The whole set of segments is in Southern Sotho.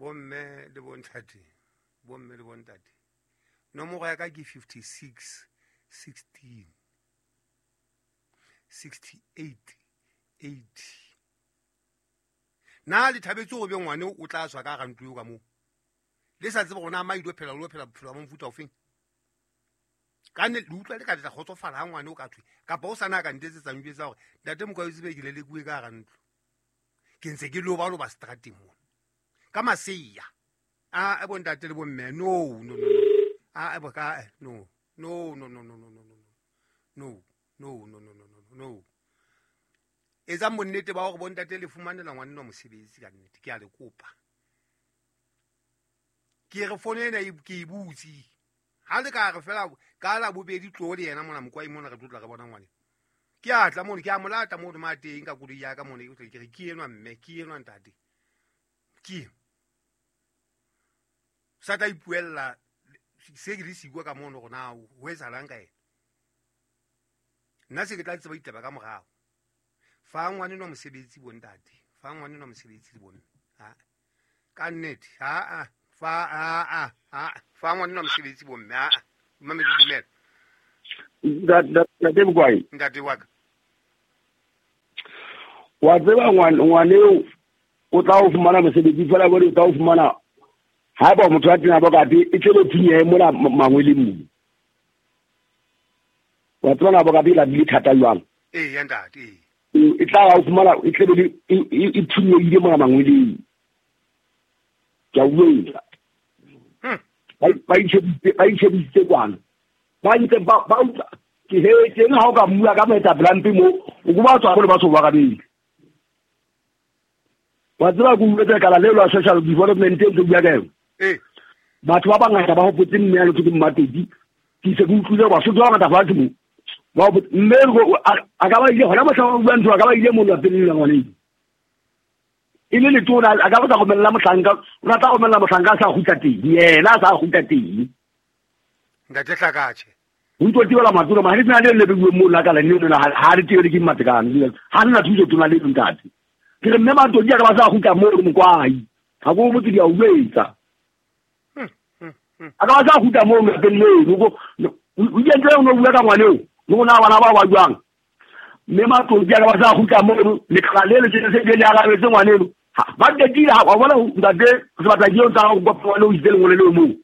Bomme le bontate, bomme le bontate, nomoro ya ka ke 56 16 68 80. Na le thabetse go be ngwane o tla tswa ka ga ntlo eo ka moo, le sa tsebe gona ma ile phela lo phela bophelo ba mofuta ofeng? Ka nne le utlwa le ka tla kgotsofala ha ngwane o ka thwe kapa o sana ka ntetsetsang jwetsa hore ntate Mokwai tsebe ke lelekuwe ka ga ntlo, ke ntse ke loba loba strateng mona ka maseya. A bo ntate le bomme, no no no, a bo ka no no no no no no no no no no no no no no. Etsang bonnete ba hore bontate le fumanela ngwanenwa mosebetsi ka nnete, ke a le kopa. Ke re fono ena ke e butse, ha le ka re fela ka la bobedi tlo le yena mona Mokwai mona re tlotla re bona ngwane. Ke a tla mono, ke a molata mono ma teng ka koloi ya ka mono, ke re ke enwa mme, ke enwa ntate. Ke sa tla ipuella se ke le sikwa ka mono gona ho etsahalang ka ena. Nna se ke tla tseba ditaba ka morao. Fa ngwanenwa mosebetsi bontate, fa ngwanenwa mosebetsi le bomme. Ha ka nnete, ha a fa a a fa ngwanenwa mosebetsi bomme, ha mme le dumela. Ntate Mokwai, ntate wa ka, wa tseba ngwane o tla o fumana mosebetsi fela bone o tla o fumana ha ba motho a tena bokate e tlebe thinye mona mangweleng mo. Wa tseba na bokate la bile thata jwang? Ee ya ntate, e tla o fumana e tlebe e thunyeile mona mangweleng. Ke a utlwa. Ba itshebisitse kwana. Ba ntse ba utlwa ke he teng ha o ka mmua ka moetapele mo o ko ba tswa go le batho ba kabedi. Wa tseba ke utlwetse lekala leo la social development e ntse bua ka yona. Batho ba bangata ba hopotse mme ya lotho ke Mmatoti. Ke se ke utlwile Basotho ba bangata fatshe mo. Ba mme a ka ba ile hona mohla o bua ntho a ka ba ile mo lapeng la ngwaneng. E le letona a ka ba sa romella mohlanka, o rata go romella mohlanka a sa kgutla teng, yena a sa kgutla teng. Ntate Hlakatjhe. Ho ntso tibela matona, ma ha le tsena le bebuwe mo la kala le lona ha le tibele ke Mmatekane. Ha nna thuso tona le ntate. Ke re mme Matodi a ka ba sa kgutla mo re Mokwai. Ha go botse di a uetsa. A ka ba sa kgutla mo lapeng leno go o ile ntse o no bua ka ngwane o, le gona bana ba ba jwang. Mme Matodi a ka ba sa kgutla mo lekala le le se le arabetse ngwane eno. Ba qetile ha wa bona ntate se batla ke o tsa go kopa ngwane o itse lengolo leo moo.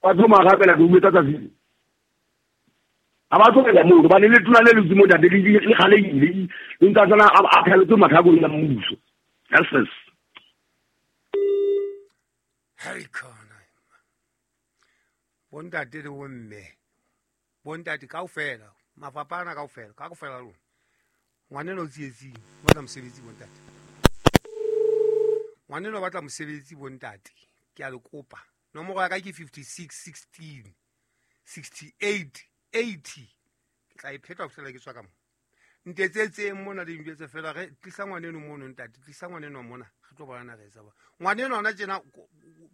Ba tlo marapela ke uetsa tsatsi. A ba tlohela moo hobane le tona le lutse mo ntate le kgalehile, le ntse a tsena a pheletse mathakong ya mmuso. Yes. Hei khona. Bontate le bomme, bontate kaofela, mafapha ana kaofela, ka kaofela lona. Ngwaneno o tsietsing, o batla mosebetsi bontate. Ngwaneno o batla mosebetsi bontate, ke a le kopa. Nomoro ya ka ke 56 16 68 80. Ke tla e pheta ho fihlela ke tswa ka mo. Ntetsetseng mona le njwetse fela re tlisa ngwaneno mono ntate, tlisa ngwaneno mona, re tlo bona re etsa ba. Ngwaneno ona tjena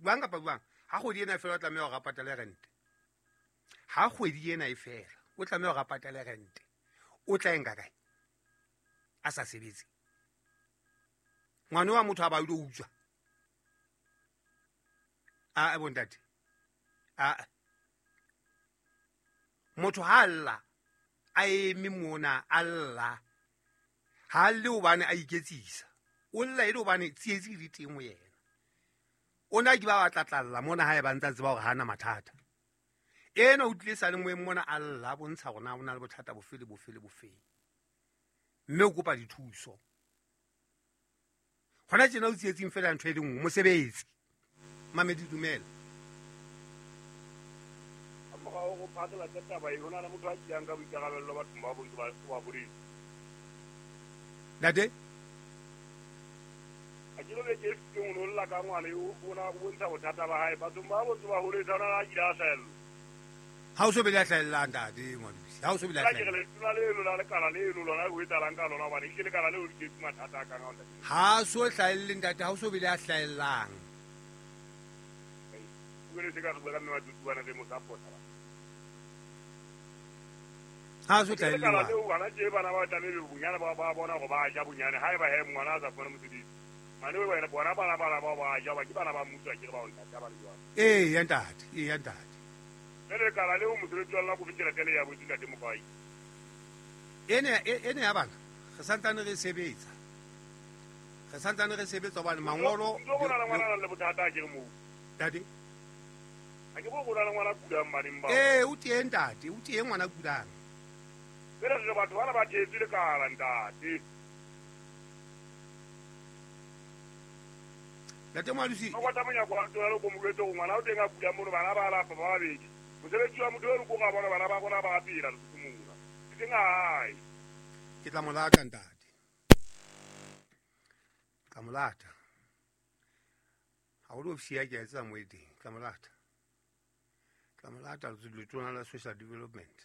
jwang kapa jwang, ha kgwedi ena e fela o tlameha hore a patale rente. Ha kgwedi ena e fela, o tlameha hore a patale rente. O tla e nka kae? A sa sebetse. Ngwana wa motho a ba ile utswa. A bontate. A motho ha lla a eme mona a lla, ha lle hobane a iketsisa, o lla e le hobane tsietsi di teng ho yena. O na ke ba batla tlalla mona ha e ba ntsa tseba hore ha ana mathata. Ena o tlile sa le moeng mona a lla a bontsha hore na o na le bothata bofe le bofe le bofe, mme o kopa dithuso. Hona tjena o tsietsing fela ntho e le nngwe, mosebetsi. Mamedi dumela. Go phatlalatsa taba e, ho na le motho a tšeang ka boikarabello bathong ba bontse ba boletse. Ntate? A ke lo ke fetileng o no lla ka ngwana eo, o na o bontsha bothata ba hae. Bathong ba bontse ba holetse, ha ona le a kile a hlahella. Ha o so be le a hlahellang ntate Ngwadusi, ha o so be le a Ke re hlahella. letona leno la lekala leno lona ho etsahalang ka lona, hobane ke lekala leo le tletse mathata a kang ao ntate. Ha so hlahelle ntate, ha o so be le a hlahellang. O le se ka re bua ka mme Matoti bana re mo support-a ba. Ha so Ke lekala hlahelle. leo bana tje bana ba tlamehile bonyane ba bona hore ba ja bonyane, haeba he ngwana a sa fumane mosebetsi. Mane wena bona bana bana ba ba ja ba ke bana ba mmuso a ke re ba o ntate ba le jwang. Ee ya ntate, ee ya ntate. Jwale lekala leo mosebetsi wa lona ko fe tjhelete le ya botse ntate Mokwai. Ene ene ya bana re santsane re sebetsa. Re santsane re sebetsa hobane mangolo Ntlo go na le ngwana a nang le bothata a ke re moo. Ntate. A ke bo go na le ngwana kulang baneng bao. Ee, o teng ntate, o teng ngwana kulang. Jwale re batho bana ba thetswe lekala ntate. Ntate Moalosi. Ba kwata monyako wa ntlo ya le ko mo jwetse gore ngwana o teng a kulang mono bana ba lapa ba babedi. Mosebetsi wa motho eno ko ga bona bana ba rona ba phela Lesotho mona. E seng a hae. Ke tla mo lata ntate. Ke tla mo lata. Ha o le ofisi ya ke a etsa mo e teng. Ke tla mo lata. Ke tla mo lata letona la social development.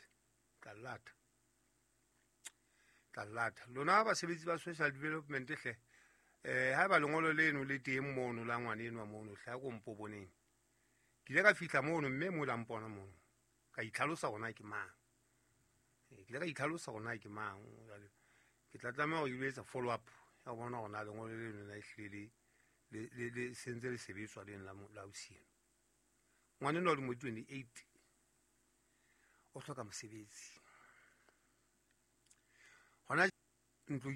Ke tla lata. Tla lata. Lona basebetsi ba social development hle. Haeba lengolo leno le teng mono la ngwana enwa mono hle a ko mpo boneng. Ke ile ka fihla mono mme mo la mpona mono. Ka itlhalosa hore na ke mang. Ke ile ka itlhalosa hore na ke mang. Jwale ke tla tlameha hore ke lo etsa follow up ya ho bona hore na lengolo leno na ehlile le le sentse le sebetswa leno la la ausi eno. Ngwana enwa o lemo di 28 o hloka mosebetsi. Hona ntlo